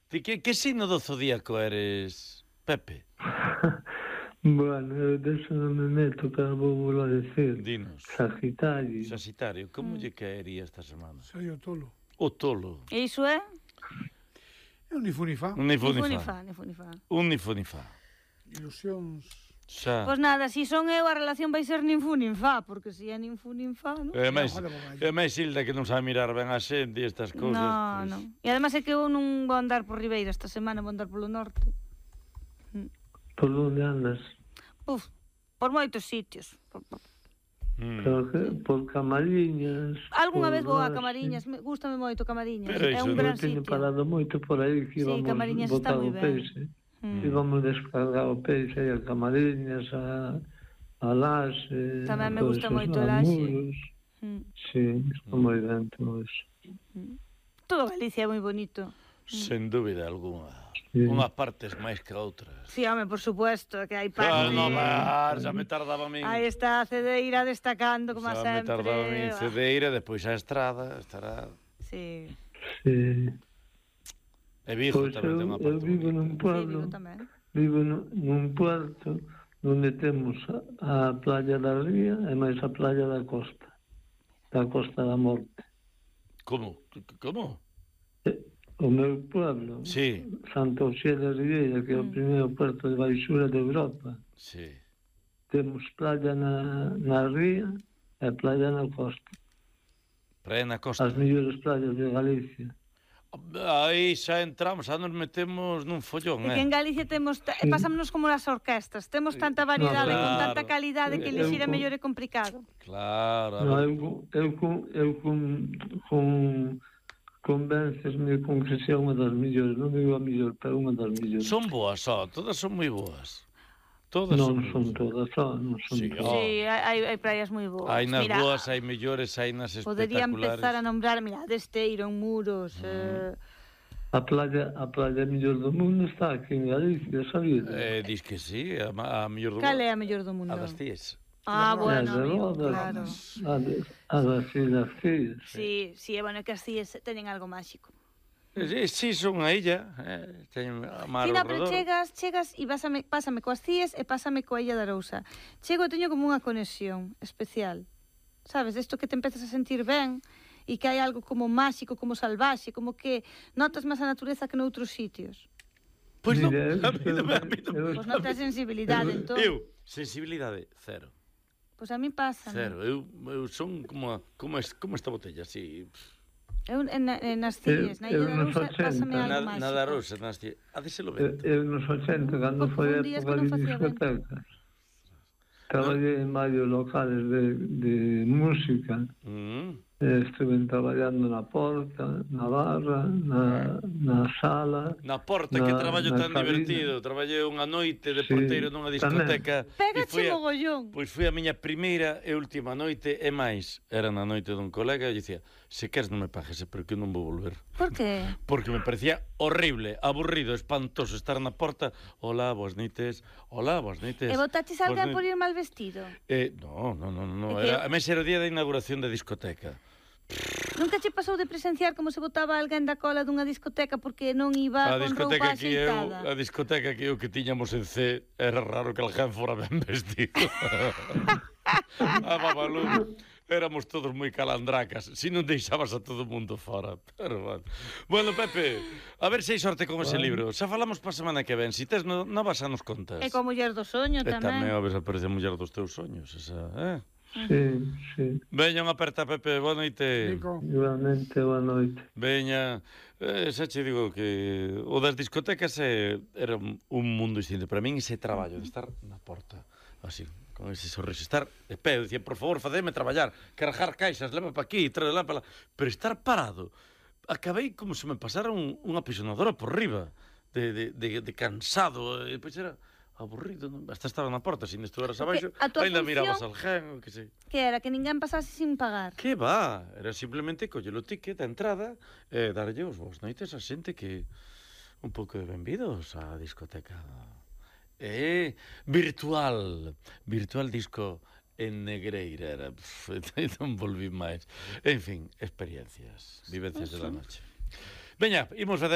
Ti que signo do zodíaco eres, Pepe? Bueno, eu deso non me meto, pero vou volver a decir. Dinos. Sagitario. Sagitario, como lle caería esta semana? Soy o tolo. O tolo. E iso é? É un nifunifá. Un nifunifá. Nifunifá. Un nifunifá. Ilusións. Xa. Pois nada, si son eu, a relación vai ser ninfunifá, porque si é ninfunifá, non? É máis Hilda que non sabe mirar ben a xente e estas cousas. No, non. E ademais é que eu non vou andar por Ribeira esta semana, vou andar polo norte. Por onde andas? Uf, por moitos sitios. Pero que, por Camariñas... Algúnha vez vou a Oste. Camariñas, gústame moito Camariñas. Pero É iso un non gran Eu teño sitio. parado moito por aí que Sí, íbamos Camariñas botar está moi o ben. peixe. Íbamos descargar o peixe aí a Camariñas, a Laxe... Tamén me a gusta todos moito esos Laxe. Muros. Sí, está moi ben todo eso. Todo Galicia é moi bonito. Sen dúbida alguna. Sí. Unhas partes máis que outras. Sí, home, por supuesto, que hai Ah, parte... no, xa me tardaba a min. Aí está a Cedeira destacando, como Xa me sempre. tardaba a min Cedeira, depois a Estrada, estará... Sí. Sí. E Vigo Pois tamén ten unha eu parte. vivo nun Sí, pueblo, digo tamén. vivo nun puerto onde temos a playa da Ría e máis a playa da Costa da Morte. Como? Como? O meu pueblo, Sí, Santa Oxía de Ribeira, que é o primeiro puerto de baixura de Europa, sí. temos playa na Ría e playa na Costa. Praia na costa. As mellores playas de Galicia. Aí xa entramos, xa nos metemos nun follón, É que en Galicia temos, pasámonos como as orquestas, temos tanta variedade, No, con claro. tanta calidade que elixir é mellor e complicado. Claro, a No, ver. convéncesme con que sea unha das millores, non digo a millor, pero unha das millores. Son boas, todas son moi boas. Todas Non moi son boas. todas, non son Sí, todas. Sí, hai praias moi boas. Hai nas Mira, boas, hai mellores, hai nas podería espectaculares. empezar a nombrar, mira, Desteiro, en Muros, A playa mellor do mundo está aquí en Galicia, sabías? Dis que sí, a mellor do cal é a mellor do mundo? A das Cíes. Ah, bueno, As de amigo, Rodas, claro. A das Islas Cíes. Sí, é bueno que as Cíes teñen algo máxico. Sí, son unha illa, teñen a mar Sí, ao no, pero redor. chegas e pásame coas Cíes e pásame coa Illa da Arousa. Chego e teño como unha conexión especial. Sabes, desto que te empezas a sentir ben e que hai algo como máxico, como salvaxe, como que notas máis a natureza que noutros sitios. Pois non, Mira, a mí non. Pois non tens sensibilidade, entón. Eu, sensibilidade, cero. Pois a mí pasa. Cero, eu son como esta botella, así. Eu nas Cíes, na Illa da nos Arousa, 80, pásame algo máxico. Na da Rosa, ha de ser o vento. Eu nos 80, cando Foi foi a un día época que non de facía vento. discotecas, traballei en varios locales de música. Estuve traballando na porta, na barra, na sala. Na porta, que traballo tan divertido. Traballei unha noite de porteiro nunha discoteca. Pégache mogollón. Pois foi a miña primeira e última noite, e máis, era na noite dun colega, e dicía, se queres non me pagues, porque eu non vou volver. Por que? Porque me parecía horrible, aburrido, espantoso estar na porta. Hola, boas noites. Hola, boas noites. E botaches alguén por ir mal vestido? No. A mes era o día da inauguración da discoteca. Nunca che pasou de presenciar como se botaba alguén da cola dunha discoteca porque non iba con roupa axeitada? A discoteca que eu que tiñamos en C, era raro que alguén fora ben vestido. A Babalú, éramos todos moi calandracas, si non deixabas a todo mundo fora. Pero bueno, Pepe, a ver se hai sorte con ese libro. Xa falamos pa semana que ven, si tes novas xa nos contas. E coa muller do soño tamén. E tamén, a ver se aparece a muller dos teus soños, esa, Sí. Veña unha aperta, Pepe, boa noite. Igualmente, boa noite. Veña, xa che digo que o das discotecas era un mundo distinto. Para min ese traballo de estar na porta, así, con ese sorriso, estar de pé, dicía, por favor, facedme traballar, cargar caixas, leva pa aquí, tráela pa lá, pero estar parado, acabei como se me pasara unha apisonadora por riba, de cansado, e depois era aburrido, non? Hasta estaba na porta, se estuveras abaixo, ainda mirabas al gen, que sei. Que era, que ninguén pasase sin pagar. Que va, era simplemente coller o ticket da entrada e darlle os boas noites a xente que un pouco de benvidos á discoteca. Virtual disco en Negreira era, non volví máis. En fin, experiencias, vivencias de la noche. Veña, imos facer